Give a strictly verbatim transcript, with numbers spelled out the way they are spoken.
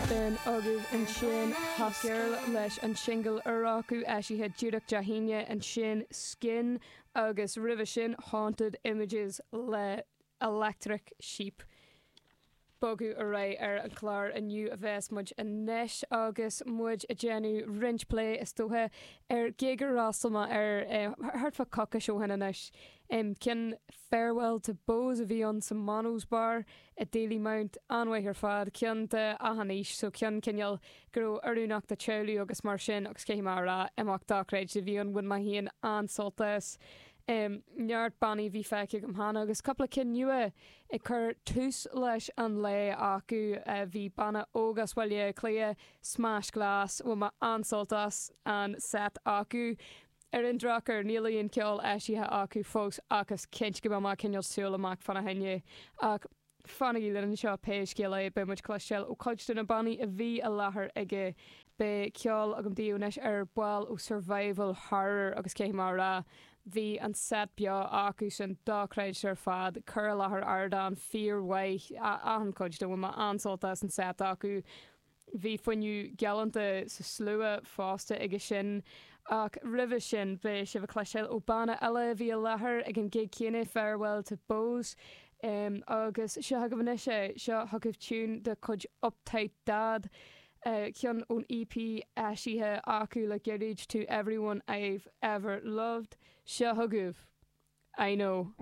B'in agaibh ansin Hot Girl leis an singil úr acu eisithe díreach Dé hAoine ansin Skin agus roimhe sin Haunted Images le Electric Sheep. Bogadh ar aghaidh ar an chlár inniu a bheas muid anois agus muid ag déanamh roinnt plé is dócha ar gig ar fhreastail mé ar thart fá coicís ó shin anois. Ceann Farewell to Bows a bhí ann sa Monos Bar i Dalymount an-mhaith ar fad, ceann d'achan aois, so ceann cineál go raibh oiriúnach do teaghlaigh agus mar sin agus caithfidh mé a rá imeacht dochreidte a bhí ann bhain mé féin an-sult as. Um, neart bannaí a bhí feicthe agam cheana agus cúpla cinn nua ag cur tús leis an lae acu uh, bhí banna óg as Baile Átha Cliath, Smash Glass, bhain mé an-sult as an set acu. Ar an drochuair níl aon ceol eisithe acu fós agus cinnte go mbeidh mé cineál súil amach fána choinne ach fanaigí linn anseo pé scéal é beidh muid cloisteáil ó chuid de na bannaí a bhí i láthair aige beidh ceol agam daoibh anois ar ball ó Survival Horror agus cé mar rá bhí an set beo acu sin dochreidte ar fad cur i láthair ardán fíormhaith achan chuid de bhain mé an-sult as an set acu. Bhí fuinneamh galánta sa slua fosta aige sin ach roimhe sin beidh sibh ag cloisteáil ó banna eile a bhí i láthair ag an gig céanna Farewell to Bows. Um, agus seo agaibh anois é seo chugaibh tune de chuid Uptight Dad. Uh, ceann ón EP eisithe acu le gairid to everyone I've ever loved. Seo chugaibh. I know.